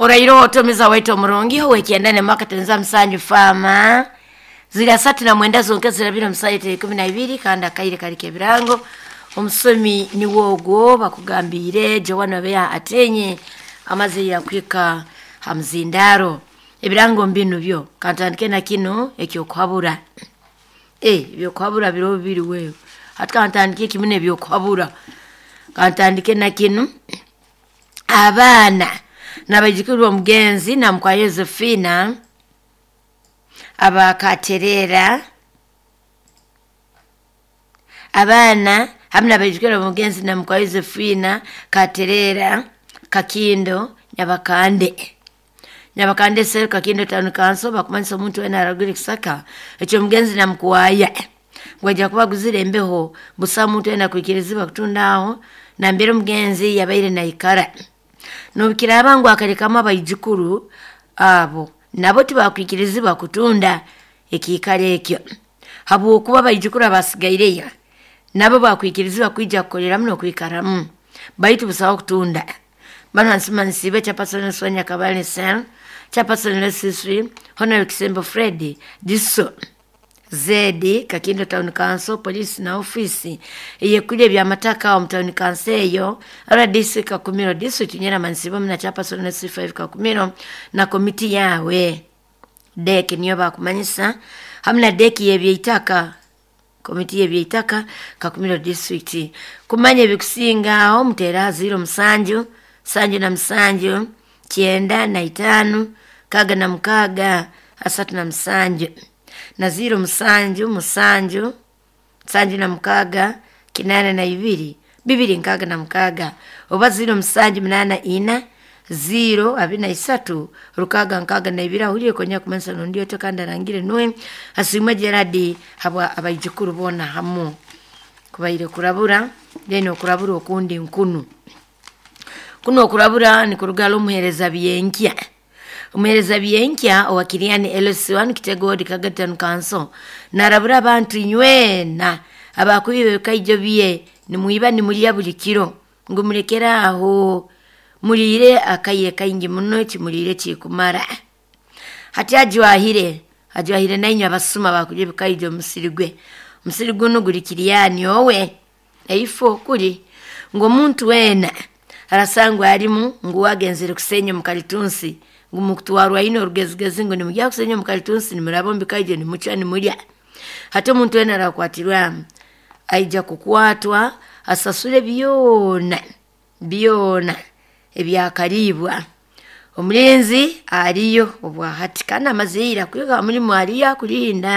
Oraire otomiza waitu omurungi owekyenda nemaka tenza 7 fama ziri 39 zonke zirabira omusaita 12 kandi akaire kali kebirango. Omusomi niwogwo bakugambire Joana Beya atenye amaze yakwika hamzindaro ebirango mbinu byo kantandike na kino ekyokuhabura. Ebyokuhabura biro bibiri wewe hati kantandike kimwe ebyokuhabura, kantandike na kino. Abaana n'abaijukuru b'omugenzi na mukwa Yosefina abakaterera, abaana hamwe n'abaijukuru b'omugenzi na mukwa Yosefina Katerera Kakindo Nyabakande, Nyabakande Sel Kakindo Town Council bakumanyisa omuntu wena aragura ekisaka ekyomugenzi na mukwaya ngwajja kuba aguzire embeho busa omuntu wena kwikirizibwa kutunda aho nambere omugenzi yabaire naikara. Nobukiraaba ngu akalekamu abaijukuru abo nabo tibakwikirizibwa kutunda ekiikaro ekyo, habwokuba abaijukuru abasigaireyo nabo bakwikirizibwa kwija kukoleramu n'okwikaramu, baitu busaho kutunda. Bano nsimanisiibwe chairperson Sonia Kabale Sel, chairperson Lesisri, Honorable Kisembo Fred Diso Zedi Kakindo Town Council, polisi na ofisi eyekuli ebyamataka omu town council eyo RDC Kakumiro district nyera manisiibwe muna chairperson C5 Kakumiro na komiti yawe deki niyo bakumanyisa hamwe na deki yebyeitaka, komiti yebyeitaka Kakumiro district. Kumanya ebikusinga aho mutera 07 77 95 66 37 na 07 7 76 82 266 oba 0784 0 23 662. Ahuriye konya kumanyisa nondi ote kandi arangire nuwe asimwe Gerard habwa abaijukuru bona hamu kubaire kurabura. Then okurabura okundi nkunu kuno okurabura ni kurugala omuhereza byenkya, omuhereza byenkya owakiriani LC1 Kitego Ward Kagatan Council narabura abantu inywena abakubiba ebikaijo bye nimwiba nimulya buli kiro ngu mulekere aho, muliire akaire kaingi muno kimuliire kikumara. Hati ajwahire ajwahire nainywe abasuma bakulya ebikaijo omusiri gwe, omusiri guno guli Kiriani owe eifo kuli ngu omuntu wena arasangwa arimu ngu wagenzere kusenya omukalitunsi ngu mukutwarwa ino orugezigezi ngu nimujya kusenya omukalitunsi nimuraba omu bikaijo nimucwa nimulya. Hati omuntu wena arakwatirwamu aija kukwatwa asasule byona byona ebyakaribwa. Omulinzi ariyo obwahati kandi amaze ira kwiga mulimu ariyo akulinda.